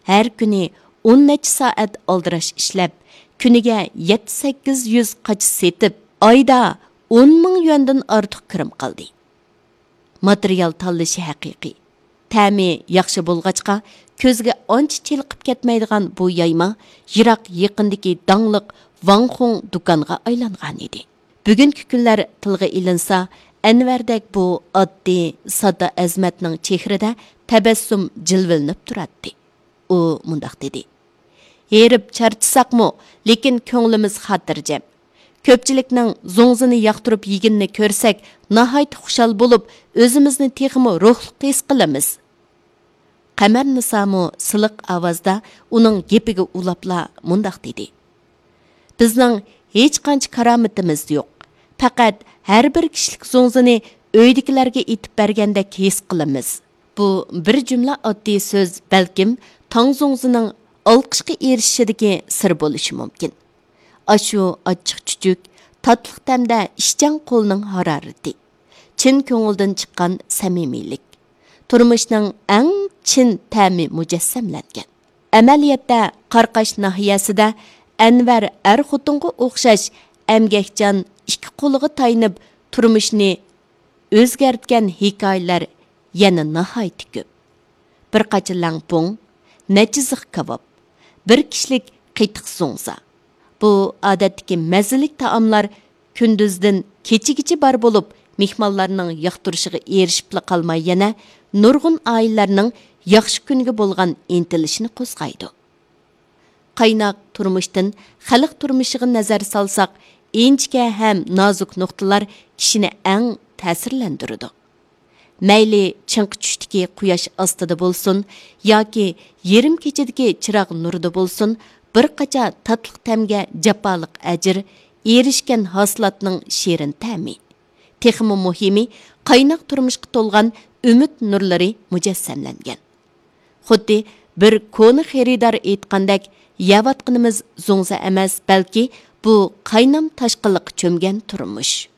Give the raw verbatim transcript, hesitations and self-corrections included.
ھەر كۈنى ئون نەچچە سائەت ئالدىراش ئىشلەپ، كۈنىگە يەتتە سەككىز يۈز قاچا سېتىپ، ئايدا ئون مىڭ يۈەندىن ئارتۇق كىرىم قىلدى. ماتېرىيال تاللىشى ھەقىقىي. تەمى ياخشى بولغاچقا، كۆزگە ئانچە چېلىقىپ كەتمەيدىغان بۇ يايما يىراق يېقىندىكى داڭلىق ۋاڭخۇڭ دۇكانغا ئايلانغانىدى. بۈگۈنكى كۈنلەر تىلغا ئېلىنسا، ئەنۋەردەك بۇ ئاددىي، ساددا ئەزىمەتنىڭ چېھرىدە تەبەسسۇم جىلۋىلىنىپ تۇراتتى. ئۇ مۇنداق دېدى: «ھېرىپ چارچىساقمۇ، لېكىن كۆڭلىمىز خاتىرجەم. كۆپچىلىكنىڭ زوڭزىنى ياقتۇرۇپ يېگىنىنى كۆرسەك، ناھايىتى خۇشال بولۇپ، ئۆزىمىزنى تېخىمۇ روھلۇق ھېس قىلىمىز.» قەمەرنىسامۇ سىلىق ئاۋازدا ئۇنىڭ گېپىگە ئۇلاپلا مۇنداق دېدى: «بىزنىڭ ھېچقانچە كارامىتىمىز يوق. پەقەت ھەر بىر كىشىلىك زوڭزىنى ئۆيدىكىلەرگە ئېتىپ بەرگەندەك ھېس قىلىمىز.» بۇ بىر جۈملە ئاددىي سۆز، بەلكىم تاڭ زوڭزىنىڭ ئالقىشقا ئېرىشىشىدىكى سىر بولۇشى مۇمكىن. ئاشۇ ئاچچىق چۈچۈك، تاتلىق تەمدە ئىشچان قولنىڭ ھارارىتى، چىن كۆڭۈلدىن چىققان سەمىمىيلىك، تۇرمۇشنىڭ ئەڭ چىن تەمى مۇجەسسەملەنگەن. ئەمەلىيەتتە، قاراقاش ناھىيەسىدە ئەنۋەر ئەر-خوتۇنغا ئوخشاش ئەمگەكچان، ئىككى قولىغا تايىنىپ تۇرمۇشنى ئۆزگەرتكەن ھېكايىلەر يەنە ناھايىتى كۆپ. بىر قاچا لەڭپۇڭ، نەچچە زىخ كاۋاپ، بىر كىشىلىك قېتىق زوڭزا. بۇ ئادەتتىكى مەززىلىك تائاملار كۈندۈزدىن كېچىگىچە بار بولۇپ، مېھمانلارنىڭ ياقتۇرۇشىغا ئېرىشىپلا قالماي، يەنە نۇرغۇن ئائىلىلەرنىڭ ياخشى كۈنگە بولغان ئىنتىلىشىنى قوزغايدۇ. قايناق تۇرمۇشتىن خەلق تۇرمۇشىغا نەزەر سالساق، ئىنچىكە ھەم نازۇك نۇقتىلار كىشىنى ئەڭ تەسىرلەندۈرىدۇ. مەيلى چىڭقى چۈشتىكى قۇياش ئاستىدا بولسۇن ياكى يېرىم كېچىدىكى چىراغ نۇرىدا بولسۇن، بىر قاچا تاتلىق تەمگە جاپالىق ئەجىر، ئېرىشكەن ھاسىلاتنىڭ شېرىن تەمى. تېخىمۇ مۇھىمى، قايناق تۇرمۇشقا تولغان ئۈمىد نۇرلىرى مۇجەسسەملەنگەن. خۇددى بىر كونا خېرىدار ئېيتقاندەك، يەۋاتقىنىمىز زوڭزا ئەمەس، بەلكى بۇ قاينام تاشقىنلىققا چۆمگەن تۇرمۇش.